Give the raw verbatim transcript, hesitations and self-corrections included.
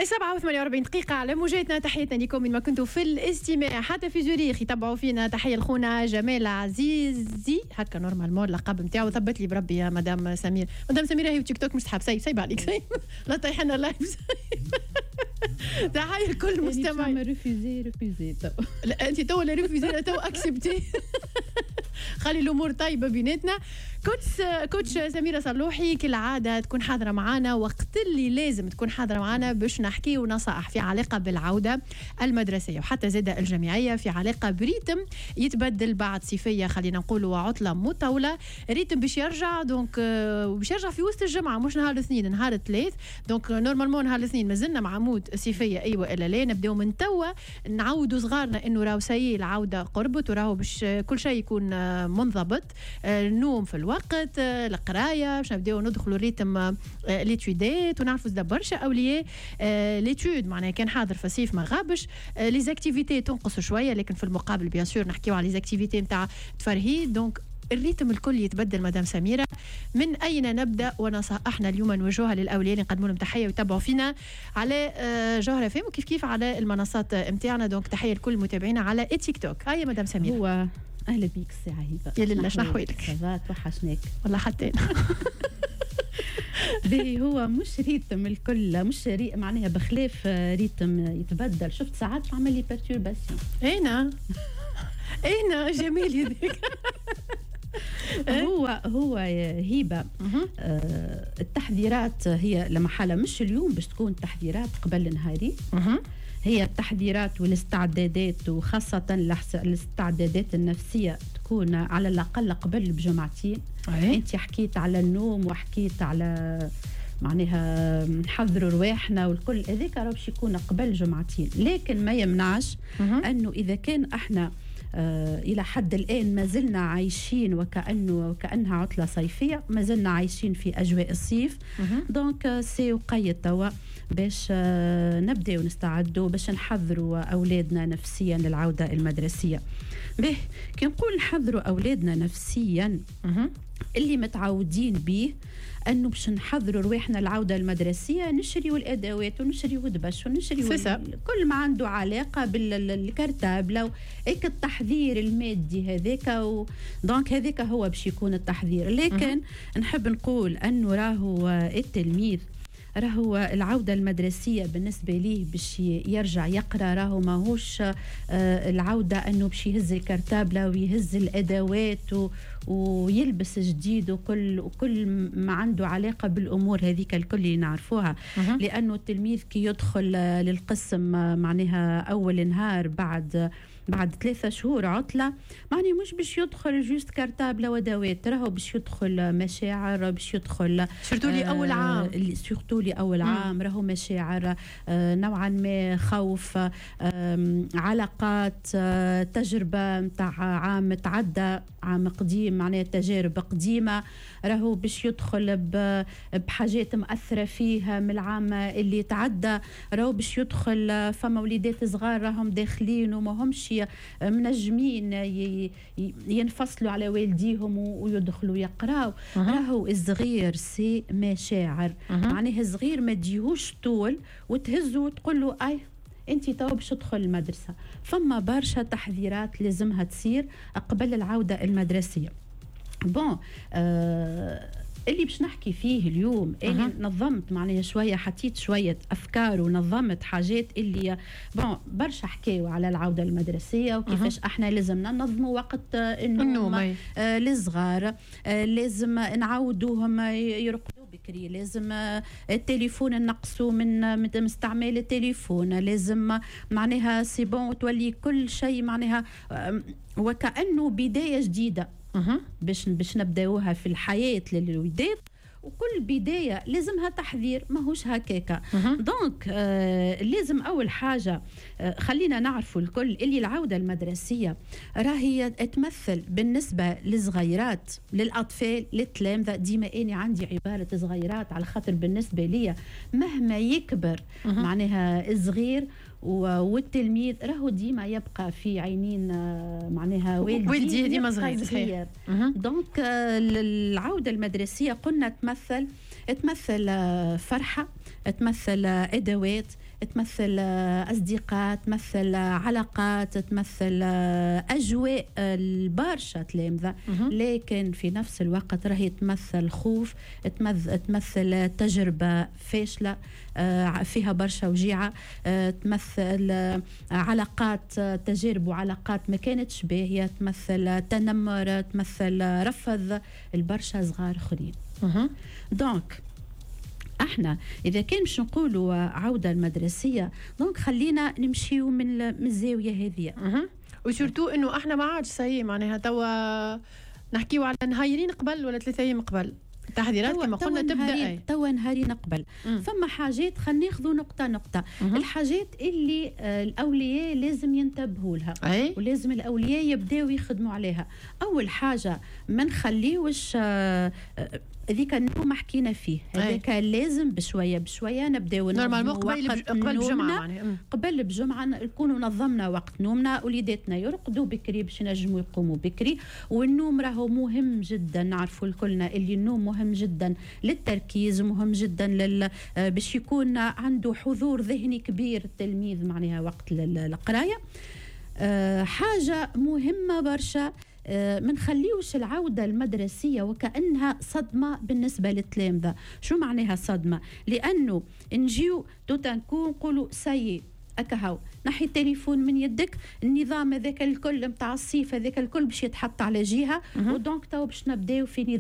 سبعة وثمانية وأربعين دقيقة على موجاتنا. تحياتنا لكم من ما كنتوا في الاستماع حتى في زوريخ يتبعوا فينا. تحية لخونا جمال عزيزي، هكا normalement اللقب نتاعو، ثبت لي بربي يا مدام سمير. مدام سميرة هي تيك توك مش تحب، سيب سيب عليك، سيب لا طيحنا live. تحية لكل مستمع. refusé refusé. لا انت تو لا refusé، تو accepté، خلي الامور طيبة بيناتنا. coach coach سميرة صلوحي كالعادة تكون حاضره معنا وقت اللي لازم تكون حاضره معنا باش نحكيو نصائح في علاقة بالعودة المدرسية وحتى زاده الجامعيه، في علاقة ب rythme يتبدل بعد صيفيه، خلينا نقولوا عطله مطوله، rythme باش يرجع donc باش يرجع في وسط الجمعه، مش نهار الاثنين، نهار الثلاث. donc normalement نهار الاثنين مازلنا مع mode صيفيه، ايوه الا لا نبداو من توا نعودوا صغارنا انه راهو ça y est العودة قربت وراهو باش كل شيء يكون منضبط، النوم في الوقت، القرايه، باش نبداو ندخلوا rythme les études. ونعرفوا زاد برشا اولياء les études معناها كان حاضر في الصيف ما غابش، les activités تنقص شويه، لكن في المقابل bien sûr نحكيو على les activités نتاع تفرهيد. donc ال rythme الكل يتبدل. مدام سميرة، من أين نبدأ؟ ونصائحنا اليوم نوجهها للأولياء اللي نقدموا لهم تحية ويتبعوا فينا على جوهرة اف ام وكيف كيف على المنصات نتاعنا. donc تحية لكل متابعينا على تيك توك. هيا مدام سميرة. هو أهلا بيك سي عهيبة. يا لله، شنو أحوالك؟ ça va، توحشناك. والله حتى أنا. باهي، هو مش rythme الكل، مش ري معناها بخلاف rythme يتبدل، شفت ساعات تعمل لي perturbation. اينا اينا جميل هذيك. هو هو هبه، آه التحذيرات هي لما حالة مش اليوم باش تكون تحذيرات قبل نهاري، هي التحذيرات والاستعدادات وخاصة الاستعدادات النفسية تكون على الأقل قبل بجمعتين. أنت حكيت على النوم وحكيت على معناها نحضروا رواحنا والكل، هذاك راه باش يكون قبل جمعتين، لكن ما يمنعش انه اذا كان احنا آه الى حد الان ما زلنا عايشين وكانه وكانها عطله صيفيه، ما زلنا عايشين في اجواء الصيف، donc c'est وقيت توا باش آه نبداو نستعدوا باش نحضروا اولادنا نفسيا للعودة المدرسيه. به كي نقول نحضروا اولادنا نفسيا، اللي متعودين به انه باش نحضروا رواحنا العودة المدرسية نشريوا الادوات ونشريوا دبش ونشريوا كل ما عنده علاقة بال cartable، هيك التحضير المادي هذاك و... donc هذاك هو باش يكون التحضير. لكن نحب نقول انه راهو التلميذ راهو العودة المدرسية بالنسبة ليه باش يرجع يقرأ، راهو ماهوش آه، العودة أنه باش يهز ال cartable ويهز الأدوات ويلبس جديد وكل وكل ما عنده علاقة بالأمور هذيك الكل اللي نعرفوها، لأنه التلميذ كي يدخل للقسم معناها أول نهار بعد بعد ثلاثة شهور عطلة، معني مش باش يدخل juste cartable وادوات، راهو باش يدخل مشاعر، باش يدخل surtout لي أول عام. surtout لي أول عام راهو مشاعر، آه، نوعا ما خوف، علاقات، آه، تجربة نتاع عام تعدى، عام قديم، معناها تجارب قديمة، راهو باش يدخل بحاجات مأثرة فيها من العام اللي تعدى، راهو باش يدخل فما وليدات صغار راهم داخلين وما همش منجمين ينفصلوا على والديهم ويدخلوا يقراو. راهو الصغير c'est مشاعر، معناها الصغير ما تجيهوش طول وتهزه وتقول له اي انت تو باش تدخل المدرسه. فما برشا تحذيرات لازمها تصير قبل العودة المدرسيه. bon آه اللي باش نحكي فيه اليوم اني نظمت معناها شويه، حطيت شوية افكار ونظمت حاجات اللي bon برشا حكاوا على العودة المدرسية وكيفاش احنا لازمنا ننظموا وقت النوم آه للصغار، آه لازم نعودوهم يرقدوا بكري، لازم التليفون نقصوا من من استعمال التليفون، لازم معناها c'est bon تولي كل شيء معناها وكانه بداية جديدة باش باش نبداوها في الحياة للوليدات، وكل بداية لازمها تحذير، ماهوش هكاكا. donc آه لازم اول حاجة آه خلينا نعرفوا الكل اللي العودة المدرسية راهي تمثل بالنسبة للصغيرات، للاطفال، للتلامذه. ديما اني عندي عبارة صغيرات على خاطر بالنسبة لي مهما يكبر معناها الصغير والتلميذ راهو ديما يبقى في عينين آه، معناها والديه والديه ديما صغير. صغير. donc آه، العودة المدرسية قلنا تمثل تمثل فرحه، تمثل ادوات، تمثل اصدقاء، تمثل علاقات، تمثل اجواء البرشا تلامذه، لكن في نفس الوقت راهي تمثل خوف، تمثل تجربه فاشلة آه، فيها برشا وجيعه، آه، تمثل علاقات، تجارب وعلاقات ما كانتش باهيه، تمثل تنمر، تمثل رفض البرشا صغار اخرين. donc احنا اذا كان باش نقولوا عوده المدرسيه، donc خلينا نمشيو من من الزاوية هذه. و surtout انه احنا ما عادش ça y est، معناها توا نحكيو على نهايرين قبل ولا ثلاثة ايام قبل التحضيرات كما قلنا تبدا. أي. توا نهارين قبل. فما حاجات، خلينا ناخذوا نقطة نقطه. مم. الحاجات اللي آه، الاولياء لازم ينتبهوا لها أي؟ ولازم الاولياء يبداو يخدموا عليها. اول حاجه، ما نخليوش آه، آه، هذيك النوم حكينا فيه، هذاك لازم بشوية بشوية نبداو. normalement قبل قبل بجمعه. معناها قبل بجمعه نكونوا نظمنا وقت نومنا، وليداتنا يرقدوا بكري باش ينجموا يقوموا بكري. والنوم راهو مهم جدا، نعرفوا الكلنا اللي النوم مهم جدا للتركيز، مهم جدا لل باش يكون عنده حضور ذهني كبير التلميذ معناها وقت القرايه. أه حاجة مهمة برشا، آه، ما نخليوش العودة المدرسية وكأنها صدمة بالنسبة للتلامذة. شو معناها صدمة؟ لأنه نجيو tout d'un coup نقولوا ça y est، أكهو، نحي التليفون من يدك، النظام هذاك الكل نتاع الصيف هذاك الكل باش يتحط على جهه، و donc تو باش نبداو في نظام.